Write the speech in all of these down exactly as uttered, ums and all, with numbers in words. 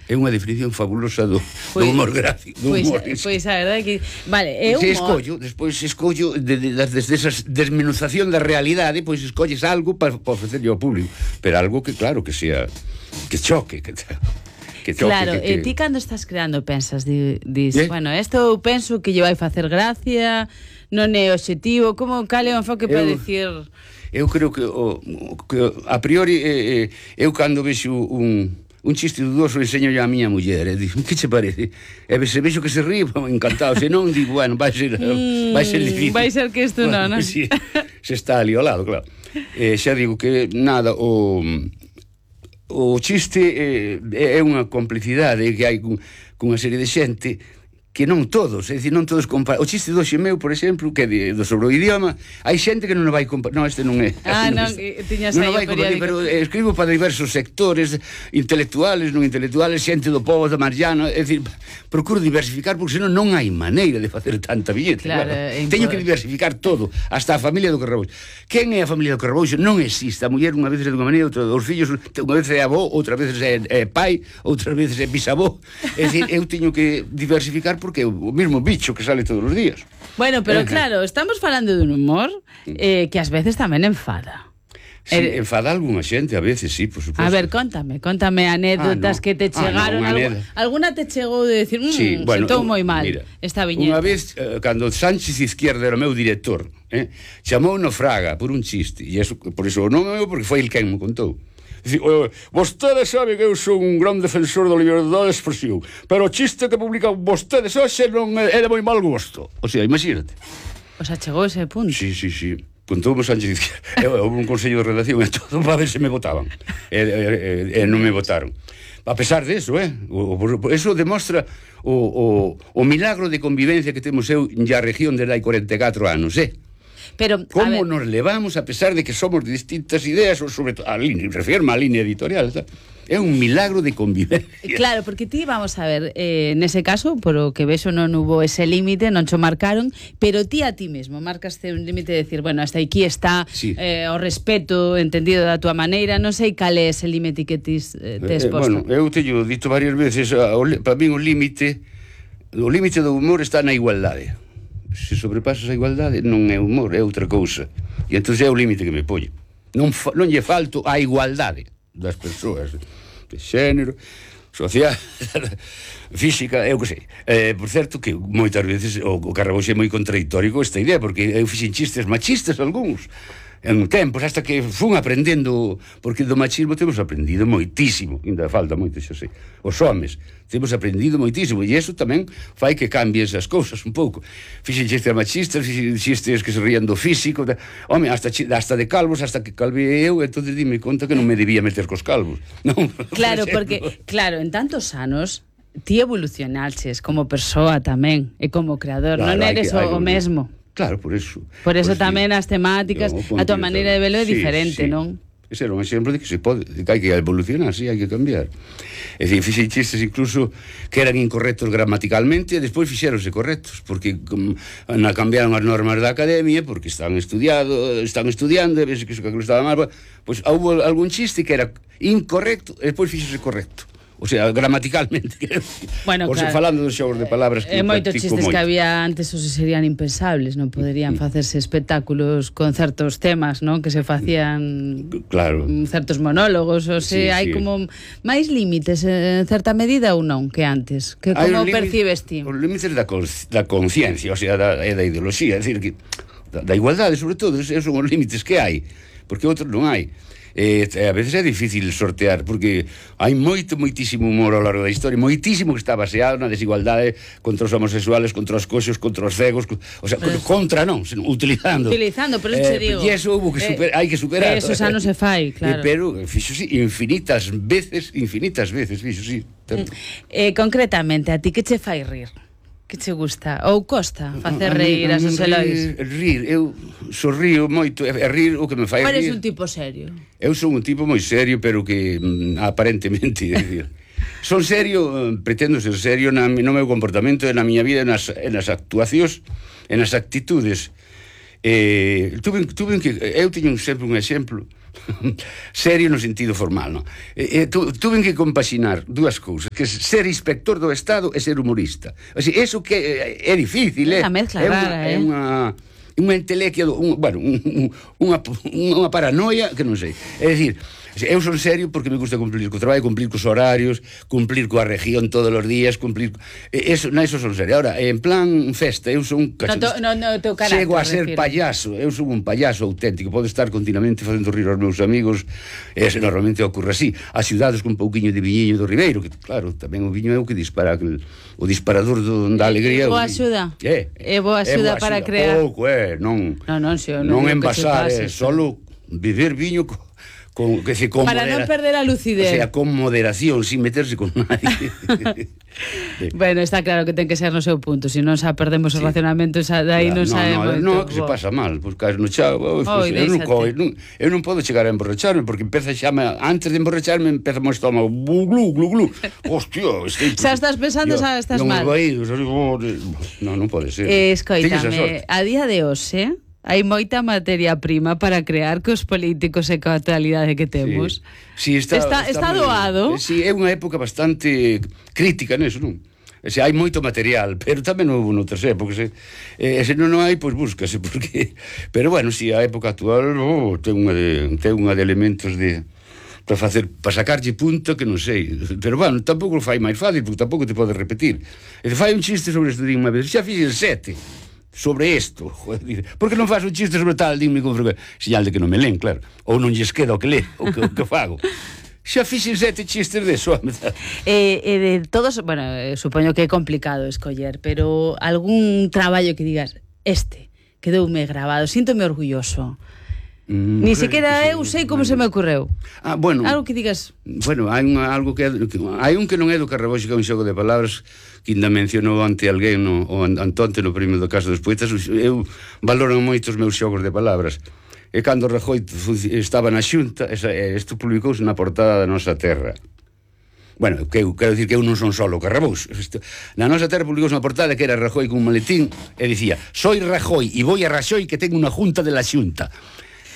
É unha definición fabulosa do, do humor gráfico. Do pois, humor. Pois a verdade que... Vale, é humor. Se escollo, despois escollo, de, de, desde esa desmenuzación da realidade, pois escolles algo para pa ofrecerlle ao público. Pero algo que, claro, que sea... que choque, que... que choque, claro, que, que... e ti cando estás creando pensas, di, dis, ¿Eh? bueno, isto eu penso que lle vai facer gracia, non é obxectivo, como cal é o enfoque para Eu... dicir... Eu creo que, o, que a priori eh, eh, eu cando vexo un, un chiste dudoso enseño a miña muller e digo, que che parece? E se vexo que se ríe, encantado, se non digo, bueno, vai ser, mm, vai ser difícil, vai ser que isto bueno, non, non? Si, se está ali ao lado, claro. Eh, xa digo que nada, o o chiste eh, é unha complicidade que hai cunha serie de xente que non todos, é dicir, non todos comparan. O chiste do xemeu, por exemplo, que de, do sobre o idioma, hai xente que non o vai comparar. Non, este non é. Ah, non, non, tiñas non aí o periódico. Pero escribo para diversos sectores, intelectuales, non intelectuales, xente do povo da Mariana, é dicir, procuro diversificar, porque senón non hai maneira de facer tanta billete. Claro, claro. Teño que diversificar todo, hasta a familia do Carrabouxo. Quen é a familia do Carrabouxo? Non existe. A muller unha vez é dunha maneira, outra dos fillos, unha vez é avó, outra vez é, é pai, outras veces é bisavó. É dicir, eu teño que diversificar porque é o mesmo bicho que sale todos os días. Bueno, pero claro, estamos falando dun humor eh, que ás veces tamén enfada. Sí, eh, enfada algunha xente, a veces, sí, por suposto. A ver, contame, contame anécdotas ah, no. que te chegaron. Ah, no, algo, alguna te chegou de decir, mmm, sí, bueno, sentou moi mal mira, esta viñeta. Unha vez, eh, cando Sánchez Izquierda era o meu director, eh, chamou no Fraga por un chiste, e eso, por eso non é porque foi el quen me contou. Dicir, vostede sabe que eu sou un gran defensor da liberdade de expresión, pero o chiste que publican vostedes hoxe non é, é de moi mal gosto. O sea, imagínate. O sea, chegou ese punto. Sí, sí, sí. Contoume Sánchez Izquierda. Houve un consello de redacción e todo para ver se me votaban. E, e, e non me votaron. A pesar de eso, eh? O, o, eso demostra o, o, o milagro de convivencia que temos eu na región desde hai corenta e catro anos, eh? Pero, como nos levamos a pesar de que somos de distintas ideas, ou sobre todo a línea, refirme á línea editorial, ¿tá? É un milagro de convivencia. Claro, porque ti, vamos a ver, eh, nese caso, por o que vexo non hubo ese límite, non cho marcaron, pero ti a ti mesmo marcaste un límite de decir, bueno, hasta aquí está sí. eh, o respeto entendido da tua maneira, non sei cal é ese límite que ti eh, te exposto. Eh, bueno, eu teño dito varias veces, para mí o límite, o límite do humor está na igualdade. Se sobrepasas a igualdade non é humor, é outra cousa. E entón é o límite que me poño. Non, non lle falto a igualdade das persoas de xénero, social, física, eu que sei. Eh, por certo que moitas veces o, o Carrabouxo é moi contradictorio con esta idea, porque eu fixen chistes machistas algúns en tempos, hasta que fun aprendendo, porque do machismo temos aprendido moitísimo, ainda falta moito, xa sei, os homes temos aprendido moitísimo, e iso tamén fai que cambie esas cousas un pouco. Fixen chistes machistas, fixen chistes que se rían do físico, da, home, hasta, hasta de calvos, hasta que calvei eu, entón dime conta que non me debía meter cos calvos. Non, claro, por porque, claro, en tantos anos ti evolucionaches como persoa tamén, e como creador, claro, non eres que, o, o mesmo. Claro, por eso. Por eso pues, tamén sí. As temáticas, no, a tua maneira de velo é sí, diferente, sí. Non? Ese era un exemplo de que se pode, de que hai que evolucionar, sí, hai que cambiar. É dicir, fixen chistes incluso que eran incorrectos gramaticalmente e despois fixéronse correctos, porque como, na cambiaron as normas da academia, porque están estudiado, están estudiando, e ves que iso que estaba mal, pois pues, houve algún chiste que era incorrecto e despois fixose correcto. O sea, gramaticalmente. Bueno, o sea, claro, falando dos xogos de palabras que eh, moitos chistes moito. Que había antes os serían impensables, non poderían mm. facerse espectáculos con certos temas, non? Que se facían claro. certos monólogos, o sea, sí, hai sí. como máis límites en certa medida ou non que antes. Que como percibes ti? Os límites da, da conciencia, o sea, da, da ideoloxía, é dicir que da, da igualdade, sobre todo, esos son os límites que hai, porque outros non hai. Eh, a veces é difícil sortear, porque hai moito, moitísimo humor ao largo da historia, moitísimo que está baseado na desigualdade contra os homosexuales, contra os coxos, contra os cegos, o sea, pero, contra non, utilizando. Utilizando, pero eh, te digo. E eso hubo que super, eh, hai que superar. Eso xa non se fai, claro. Eh, pero fixo sí, infinitas veces, infinitas veces, fixo sí. Eh, concretamente, a ti que che fai rir? Que che gusta? Ou costa facer reír a, a, a, a os Elois? Rir, eu sorrío moito, é rir o que me fai rir. Eres un tipo serio? Eu son un tipo moi serio, pero que mm, aparentemente, decir, son serio, pretendo ser serio na, no meu comportamento, na miña vida, nas, nas actuacións, nas actitudes. Eh, tuve, tuve que, eu teño sempre un exemplo serio no sentido formal, non? E, e tu, tuve que compaxinar dúas cousas, que ser inspector do Estado e ser humorista. O sea, eso que é difícil, é, unha mezcla é unha, rara, é eh? unha unha entelequia, un, bueno, un, un, unha, unha paranoia que non sei. É dicir, eu son serio porque me gusta cumplir co traballo, cumplir cos horarios, cumplir coa región todos os días, cumplir... Eso, na, eso son serio. Ahora, en plan festa, eu son un cachorro... No, no, no, teu carácter, chego a ser refiro. payaso, eu son un payaso auténtico, podo estar continuamente facendo rir aos meus amigos, e ese normalmente ocorre así. As cidades con un pouquiño de viñiño do Ribeiro, que claro, tamén o viño é o que dispara, aquel, o disparador do, da alegría. É boa axuda. É, é boa axuda para crear. Pouco, é, non, non, non, si, non, non envasar, é solo beber viño co, con, que se, con para modera... non perder a lucidez. O sea, con moderación, sin meterse con nadie. Bueno, está claro que ten que ser no seu punto, se non xa perdemos os sí. racionamentos, dai claro, non sabe no, moito. No, que se pasa mal, pois caes no chao, oh, oh, eu, non, non, eu non podo chegar a emborracharme, porque empeza xa, antes de emborracharme, empeza o estómago, glu, glu, glu, hostia, este, xa estás pensando, xa estás mal. Non, non pode ser. Eh, escoítame, a día de hoxe, hai moita materia prima para crear cos políticos e coa actualidade que temos. Sí, sí, está, está, está, está doado. Sí, é unha época bastante crítica neso, non? E se hai moito material, pero tamén non houve noutras épocas, eh? E se non hai, pois búscase, porque... Pero bueno, si, a época actual oh, ten unha de, ten unha de elementos de... para facer, para sacarlle punto que non sei, pero bueno, tampouco o fai máis fácil, porque tampouco te pode repetir. E te fai un chiste sobre isto, digo unha vez, xa fixen sete sobre isto, joder, porque non faz un chiste sobre tal, dime con frecuencia, señal de que non me len, claro, ou non lles queda o que lee, o que, o que fago. Xa fixen sete chistes de eso. E, e de todos, bueno, supoño que é complicado escoller, pero algún traballo que digas, este, quedoume grabado, síntome orgulloso. Mm, Ni sequera eu sei como se me ocorreu. Ah, bueno. Algo que digas... Bueno, hai un, algo que, que hai un que non é do Carrabouxo, que é un xogo de palabras que ainda mencionou ante alguén no, o Antonte no Premio do Caso dos Poetas. Eu valoro moito os meus xogos de palabras. E cando Rajoy estaba na Xunta, isto publicouse na portada da Nosa Terra. Bueno, que eu quero dicir que eu non son solo Carrabouxo. Na Nosa Terra publicouse unha portada que era Rajoy con un maletín e dicía: "Soy Rajoy e voy a Rajoy que tengo unha junta de la Xunta."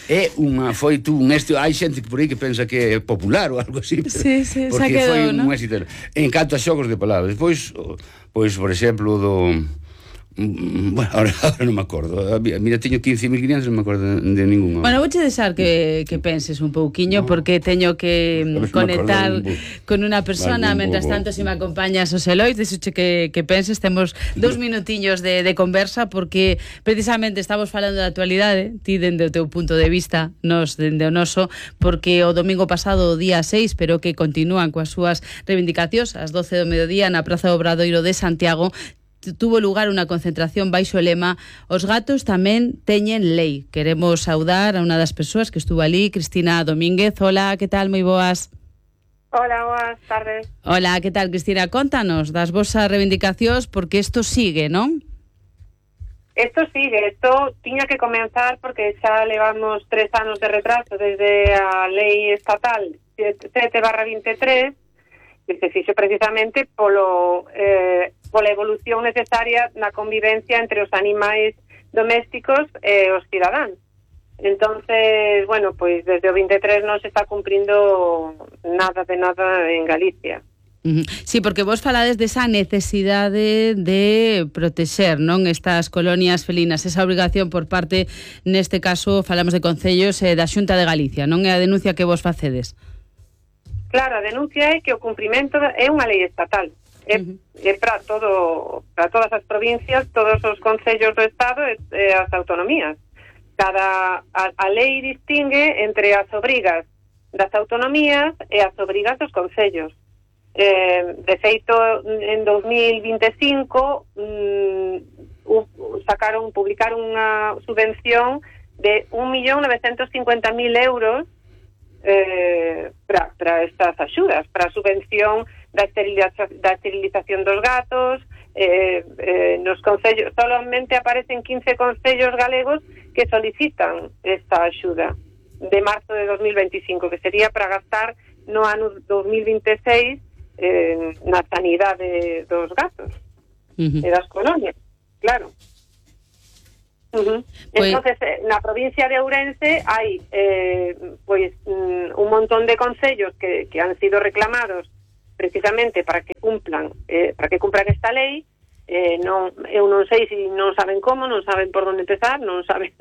É unha, foi tú un éxito, hai xente que por aí que pensa que é popular ou algo así, sí, sí, porque quedou, foi un ¿no? éxito. En canto a xogos de palabras, pois, pois por exemplo, do... Bueno, ahora, ahora non me acordo. Mira, teño quince mil quinientos, non me acordo de, de ningún. Bueno, vouche deixar que, que penses un pouquiño, no, porque teño que conectar con unha persona. Mentras tanto, se si me acompañas os Elois, deixoche que, que penses. Temos dous minutiños de, de conversa, porque precisamente estamos falando da actualidade, ti dende o teu punto de vista, nos dende o noso, porque o domingo pasado, o día seis, pero que continúan coas súas reivindicacións, ás doce do mediodía na Praza do Obradoiro de Santiago, tuvo lugar unha concentración baixo o lema "Os gatos tamén teñen lei". Queremos saudar a unha das persoas que estuvo ali, Cristina Domínguez. Hola, que tal? Moi boas. Hola, boas tardes. Hola, que tal, Cristina? Contanos das vosas reivindicacións, porque isto sigue, non? Isto sigue, isto tiña que comenzar porque xa levamos tres anos de retraso desde a lei estatal sete barra veintitrés, que se fixo precisamente polo eh, pola evolución necesaria na convivencia entre os animais domésticos e os cidadáns. Entonces, bueno, pois desde o veintitrés non se está cumprindo nada de nada en Galicia. Uh-huh. Sí, porque vos falades desa necesidade de protexer, non, estas colonias felinas, esa obrigación por parte, neste caso, falamos de concellos eh, da Xunta de Galicia, non é a denuncia que vos facedes? Claro, a denuncia é que o cumprimento é unha lei estatal. É, uh-huh. é para todo, para todas as provincias, todos os concellos do Estado e, e as autonomías. Cada a, a lei distingue entre as obrigas das autonomías e as obrigas dos concellos. Eh, de feito, en dos mil veinticinco um, sacaron, publicaron unha subvención de un millón novecientos cincuenta mil euros Eh, para estas axudas, para a subvención da, esterilización, da esterilización dos gatos. eh, eh, nos concellos solamente aparecen quince concellos galegos que solicitan esta axuda de marzo de dos mil veinticinco, que sería para gastar no ano dos mil veintiséis eh, na sanidade dos gatos uh-huh. e das colonias, claro. Uh-huh. Pues... Entonces, na provincia de Ourense hai eh, pois mm, un montón de concellos que, que han sido reclamados precisamente para que cumplan eh, para que cumplan esta lei. Eh, non, eu non sei se non saben como, non saben por onde empezar, non saben,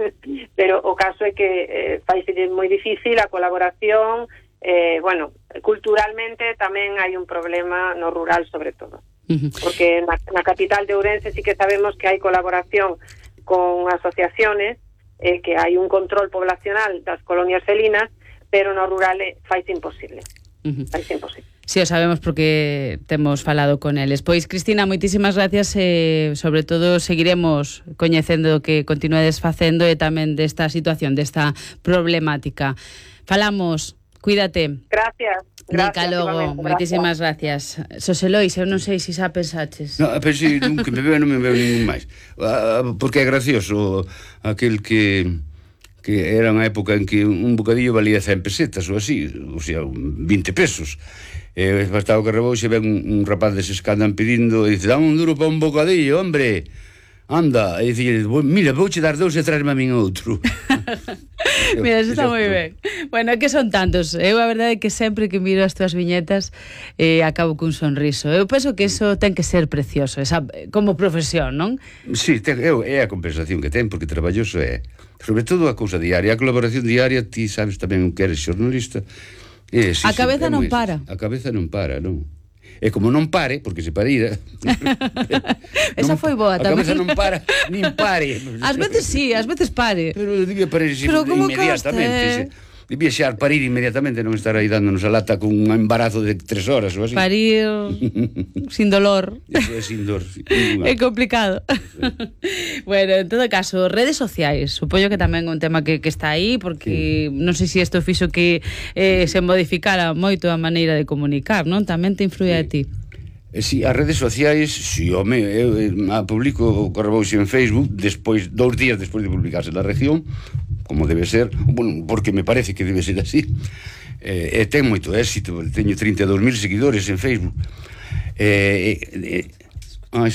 pero o caso é que eh, faise moi difícil a colaboración. Eh, bueno, culturalmente tamén hai un problema no rural, sobre todo, uh-huh. porque na, na capital de Ourense sí que sabemos que hai colaboración con asociaciones, eh, que hai un control poblacional das colonias felinas, pero no rural faise imposible. Uh-huh. Faise imposible. Si, sí, o sabemos porque temos falado con eles. Pois, Cristina, moitísimas gracias, e sobre todo seguiremos coñecendo o que continuedes facendo e tamén desta situación, desta problemática. Falamos, cuídate. Gracias. Nica logo, moitísimas gracias. Soselois, eu non sei se xa pensaches. No, pero si nunca me veo, non me veo ningún máis. Porque é gracioso aquel que que era unha época en que un bocadillo valía cen pesetas ou así, ou sea, vinte pesos. E bastaba que reboxe, ven un, un rapaz deses que andan pedindo e dice, dame un duro para un bocadillo, hombre. Anda, e dice, mira, vouche dar dous e traerme a min outro. Mira, eso está moi ben. Bueno, que son tantos. Eu a verdade é que sempre que miro as túas viñetas eh, acabo cun sonriso. Eu penso que eso ten que ser precioso, esa, como profesión, non? Sí, ten, eu, é a compensación que ten, porque traballoso é, sobre todo a cousa diaria, a colaboración diaria. Ti sabes tamén que eres xornalista. É, sí, a cabeza sí, non moi, para. A cabeza non para, non. E como non pare, porque se parira... Esa foi boa tamén. A cabeza non para, nin pare. Ás veces sí, ás veces pare. Pero debía parar inmediatamente. Debía xar parir inmediatamente, non estar aí dándonos a lata con un embarazo de tres horas ou así. Parir sin dolor. Eso é sin dor. É complicado. Bueno, en todo caso, redes sociais, supoño que tamén é un tema que, que está aí, porque sí. Non sei se isto fixo que eh, se modificara moito a maneira de comunicar, non? Tamén te influye sí. a ti. Si, as redes sociais, si, home, eu a publico o Correbouxe en Facebook despois, dous días despois de publicarse na región, como debe ser, bueno, porque me parece que debe ser así. Eh, e ten moito éxito, teño trinta e dous mil seguidores en Facebook. Eh, eh, ah,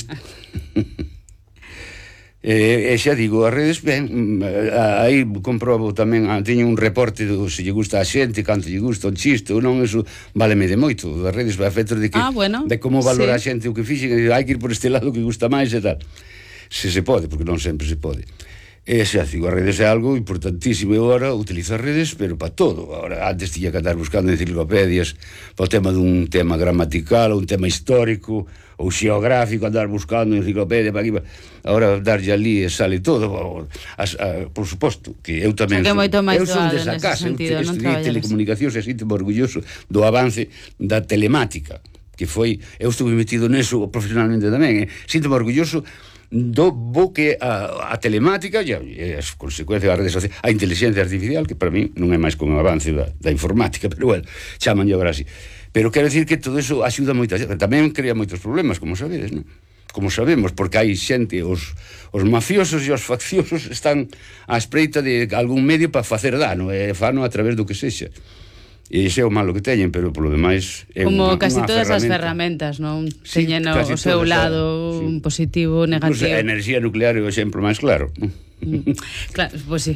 E, e xa digo, as redes, ben, aí comprobo tamén, teño un reporte do se lle gusta a xente, canto lle gusta un chiste ou non, eso váleme de moito, das redes, a efectos de que ah, bueno, de como valora sí. a xente o que fixen, hai que ir por este lado que gusta máis e tal, se se pode, porque non sempre se pode. E xa digo, as redes é algo importantísimo. Eu agora utilizo as redes, pero para todo. Agora, antes tiña que andar buscando enciclopedias para o tema dun tema gramatical, ou un tema histórico ou xeográfico, andar buscando enciclopedia para aquí. Agora darlle ali e sale todo. As, a, por suposto, que eu tamén son, eu son desa casa, eu estudiei telecomunicacións e sinto orgulloso do avance da telemática, que foi, eu estuve metido neso profesionalmente tamén, eh. Sinto orgulloso do bo que a, a telemática e as consecuencias das redes sociais, a inteligencia artificial, que para mí non é máis con o avance da, da informática, pero bueno, chaman agora así. Pero quero decir que todo eso axuda moito, tamén crea moitos problemas, como sabedes, non? Como sabemos, porque hai xente, os, os mafiosos e os facciosos están á espreita de algún medio para facer dano, e fano a través do que sexa. E iso é o malo que teñen, pero polo demais é como unha, casi unha todas ferramenta. as ferramentas, non? Sí, teñen o seu todas, lado, sí. Un positivo, negativo. Incluso a enerxía nuclear é o exemplo máis claro, non? Mm, claro, pois pues sí.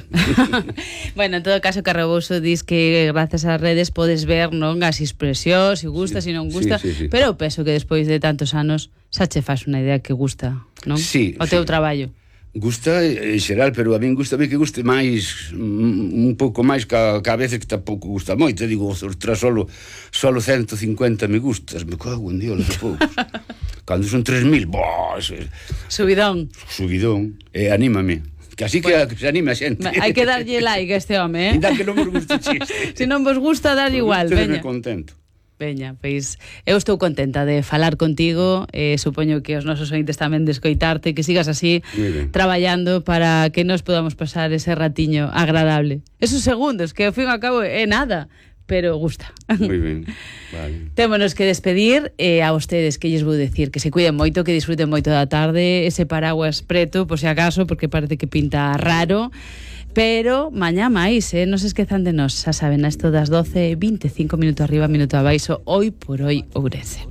Bueno, en todo caso, Carrebouxo dis que grazas ás redes podes ver, non, as expresións, se gusta, se sí, non gusta, sí, sí, sí. Pero penso que despois de tantos anos xa che faz unha idea que gusta, non? Sí, o teu sí. Traballo. Gusta en xeral, pero a min gusta que guste máis, un pouco máis que a, que a veces que tampouco gusta moito. Digo, ostras, solo, solo ciento cincuenta me gustas, me cago en Dios, de poucos. Cando son tres mil, boh, subidón. Subidón, e anímame. Que así que, bueno, que se anime a xente. Hai que darlle like a este home, eh? Ainda que non vos gusta o chiste. Se non vos gusta, darlle igual, veña. Contento. Veña, pois eu estou contenta de falar contigo, eh, supoño que os nosos ointes tamén de escoitarte, que sigas así traballando para que nos podamos pasar ese ratiño agradable. Esos segundos, que ao fin e ao cabo é nada, pero gusta. Moi ben, vale. Témonos que despedir, e eh, a vostedes que lles vou decir que se cuiden moito, que disfruten moito da tarde, ese paraguas preto, por se acaso, porque parece que pinta raro. Pero mañá máis, eh? Non se esquezan de nós. Xa saben, a esto das doce, veinticinco minutos arriba, minuto abaixo. Hoy por hoy, Ourense.